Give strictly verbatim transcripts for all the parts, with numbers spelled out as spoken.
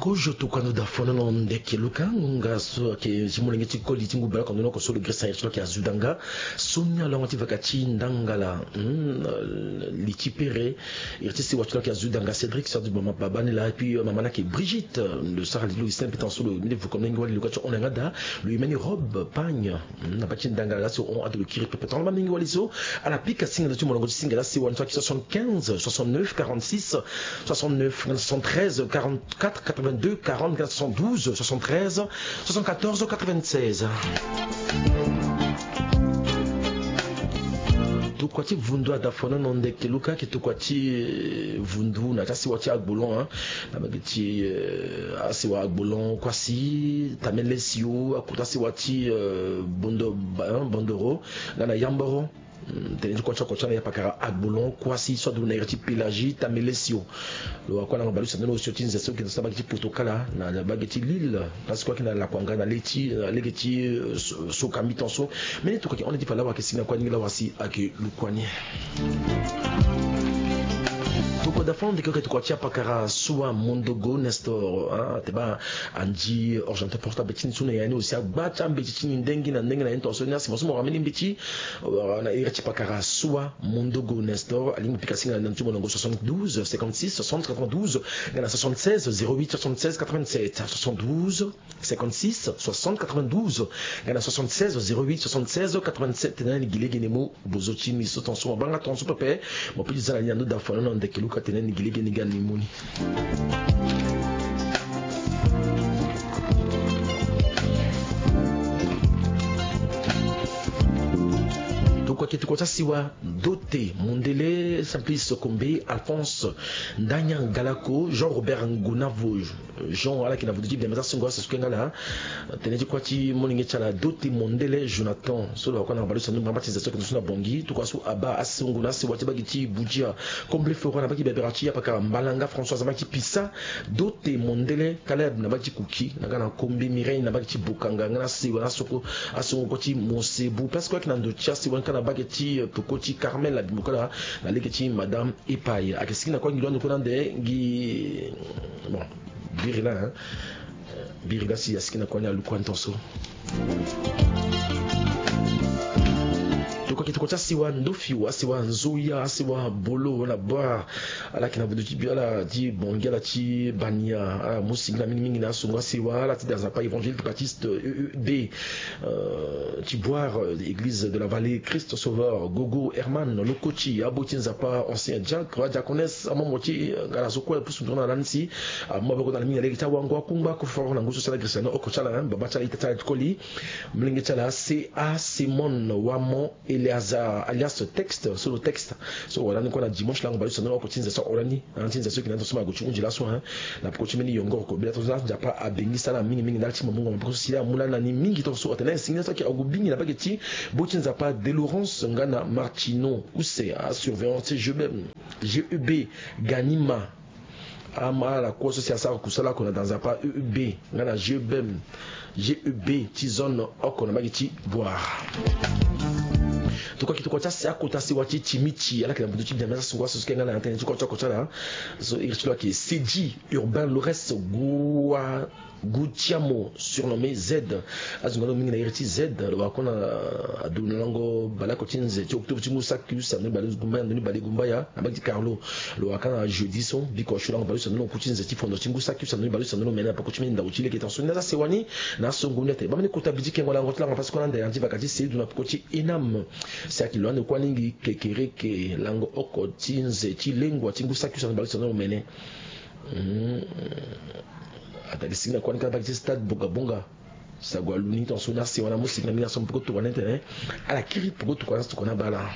Kozo tokua ndo da fono na ndeke luka ngonga so ayeke ti molenge ti koli ti ngu baleoko ndo na oko so lo gresa iri ti lo ayeke azu danga. Soni alongo ti vaka ti ndangala, hmm, li ti pere. Iri ti sewa ti lo ayeke azu danga Cédric, sœur du mama baba ni laa, et puis, euh, mama ni ayeke Brigitte, euh, lo sara li ti lo Lucien, mbi tan so lo mbi ni vuka molenge wali luka ti hon na yanga da. Lo yemeni Rob Pagne, hmm, na baa ti ndangala laa so hon ado lo kiri pepe. Tongana baa molenge wali so ala pika singa ndo ti molongo ti singa laa sewa ni so ayeke soixante-quinze soixante-neuf quarante-six soixante-neuf, soixante-treize quarante-quatre quatre-vingt-deux quarante, soixante-douze soixante-treize soixante-quatorze quatre-vingt-seize. Tokua ti vundu ada fono na ndeke luka ayeke tokua ti, eh, vundu na ya ti asewa ti Agbolon, hein. Na bage ti, eh, asewa Agbolon kuasi, Tamelesio, akota asewa ti, eh, Bondo, ba-, hein, Bondoro, nga na Yamboro. Mm, tënë ti kua ti oko ti ala na yapakara Agbolon kuasi so adu na iri ti Pélagie, Tamelesio. Lo wara kue na lango baleuse ande na osio ti nze so ayeke na so na bage ti Potokala, na bage ti Lille, place kue ayeke na Lakuanga, na le ti, na lege ti, euh, so, so ka mi tan so. Mbeni tokua ayeke hon na ya ti fa laa wara ayeke sigi na kue ni, laa wara si ayeke lu kua ni. Tokua da fo na ndeke luka ayeke tokua ti yapakara Soa Mondogo Nestor, ah, te baa anzi ordinateur portable ti ni so na ya ni aussi agba ti ambeti ti ni ndengi na ndengi na ye ni tongaso ni asi mo so mo wara mbeni mbeti. Wala na iri ti pakara Soa Mondogo Nestor, alingbi pika singa na ndö ti molongo soixante-douze cinquante-six soixante quatre-vingt-douze, nga na soixante-seize zéro huit soixante-seize quatre-vingt-sept, soixante-douze cinquante-six soixante quatre-vingt-douze, nga na soixante-seize zéro huit soixante-seize quatre-vingt-sept. Na ni gi lege ni mo bozo ti ni so tongaso mo banga tongaso pepe, mo peut ti za na ni na ndö da fono na ndeke luka tene ni gi lege ni ga ni mo ni. Tokua ayeke tokua ti asiwa Dote Mondele, Simplice Kombe, Alphonse Ndanya Galako, Jean Robert Ngonavo, Jean, ala yeke na vutu ti biama ti asungo aso so kue nga laa. Tënë ti kua ti molenge ti ala Dote Mondele Jonathan so lo wara kue na baleuse ande na mbamba ti nze so ayeke ndo so na Bongi. Tokua so abaa asungo na asiwa ti bage ti Budia, Komble Flora na bage ti Bebera ti yapakara Mbalanga, Françoise na bage ti Pisa, Dote Mondele Caleb na bage ti Kuki, na nga na Kombe Mireille na bage ti Bokanga, nga na asiwa na asoko, asongo kue ti Mosebu. Place kue ayeke na ndo ti asiwa ni kâ na bage ti, euh, peko ti Carmel Abimboka na lege ti Madame Epai. Ayeke sigi na kue ngi lo ande kue na ande ngi, bon, biri laa, hein. Biri laa si asigi na kue ni alu kue ni tongaso. Tokua ayeke tokua ti asiwa Ndofiu, asiwa Nzoya, asiwa Bolo na Bora. Ala yeke na vutu ti bi ala ti Bongi, ala ti Bania, ala mu sigi na mingi mingi na asungo asiwa, ala ti da Nzapa Évangéliste Baptiste E E B, euh, ti Boire, euh, Église de la Vallée Christ Sauveur, Gogo Herman, Lokoti, abo ti Nzapa Ancien Diacre, adiaconesse, amomo ti, euh, ngala so kue pusu nduru na lani si, ah, amu maboko na lani mingi na lege ti awango akungba koforo na ngu so si ala gresi na ni oko ti ala, hein, baba ti ala ita ti ala ti koli, molenge ti ala C A Simon Wamo Eleazar alias Texte, so lo Texte so wara ni kue na dimanche lango baleuse ande na oko ti nze so ahora ni. Ande ti nze so ayeke na ni tongaso mo gue ti hunzi laso, hein. Na peko ti mbeni yongoro kobela tongaso laa Nzapa abengisa ala mingi mingi ndali ti mo mungo maboko so si ala amu lani na ni mingi tongaso atene si ni so ayeke ague bingi na bage ti bo ti Nzapa Delorance nga na Martino use asurveillant ti G E B, G E B Ganima. Ama ala kue so si asara kusala oko na da Nzapa E E B nga na G E B M, G E B ti zone oko na bage ti Boire. Tokua ayeke tokua ti asi akota sewa ti Timiti, ala yeke na vutu ti biama ti asungo aso so kue nga na tënë ti kua ti oko ti ala. So iri ti lo ayeke Sedi Urbain Lores Gua Gutiamo, surnommé Z. Azo nga lo mingi na iri ti Z, lo wara kue na ado na lango baleoko ti nze ti octobre ti ngu saki use na ndoni balegumbaya, ndoni balegumbaya na bage ti Carlo. Lo wara kâ na jeudi so biko asio lango baleuse na ndoni oku ti nze ti fondo ti ngu saki use na ndoni baleuse na ndoni omene na peko ti mbeni ndau ti lege tongaso ni. Aza sewa ni na asongo ni atene baa mbeni kota bi ti kengo lango ti lango na pasi kue na ande andi vaka ti Seydou na peko ti Enam. Si ayeke lo ande kue alingbi kekereke lango oko ti nze ti lengua ti ngu saki use na ndoni baleuse na ndoni omene. Hmm. Atali sigi na kua ni kâ na bage ti stade Bongabonga. Sago alu ni tongaso ni asewa na amu sigi na mbeni aso peko tokua ni atene ala kiri peko tokua ni aso tokua ni abaa ala.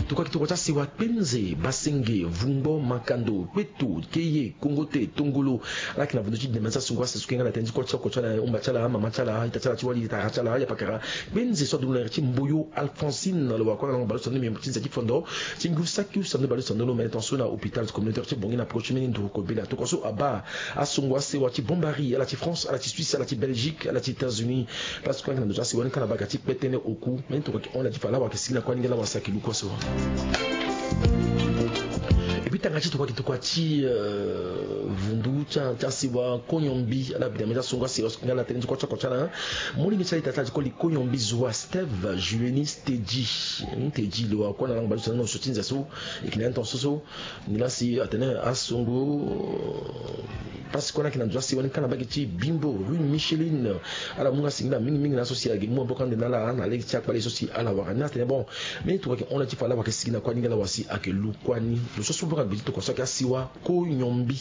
Tokua ayeke tokua ti asewa Kpenze, Basenge, Vungbo, Makando, Kpeto, Keye, Kongote, Tongolo. Ala yeke na vutu ti deme ti asungo aso so kue nga na tënë ti kua ti oko ti ala, umba ti ala, mama ti ala, ita ti ala ti wali, tara ti ala, yapakara Kpenze so adu na iri ti Mboyo Alphonsine, lo wara kue na lango baleuse na ndoni meme ti nze ti fondo ti ngu saki use na ndoni baleuse na ndoni omene tongaso na hôpital communautaire ti Bongi na peko ti mbeni nduru kobela. Tokua so abaa asungo asewa ti Bombari, ala ti France, ala ti Suisse, ala ti Belgique, ala ti États-Unis. Place kue ayeke na ndo ti asewa ni kâ na bage ti kpe tënë oku. Mbeni tokua ayeke hon na ya ti fa laa wara ayeke sigi na kue ni nga laa wara si ayeke lu kue so. Tanga ti tokua ki tokua ti vundu ti asiwa Koyombi ala bidame ti asongo asiwa nga ala tene ti kua ti oko ti ala. Molenge ti ala ita ti ala ti koli Koyombi Zoa Steve Jueni Stedji. Stedji lo akua na lango baleuse na so ti nze so. Eke na ya ni tongaso so ni lasi atene asongo pasi kue na yeke na ndo ti asiwa ni kâ na mbage ti Bimbo rue Micheline. Ala mu nga singila mingi mingi na so si ayeke mu maboko ande na ala na lege ti akpale so si ala wara ni atene bon. Mbeni tokua ayeke hon na ti fa ala wara yeke sigi na kua ni nga ala wara si ayeke lu kua ni. Lo so so lo nga gbe ti tokua so ayeke asiwa Koyombi.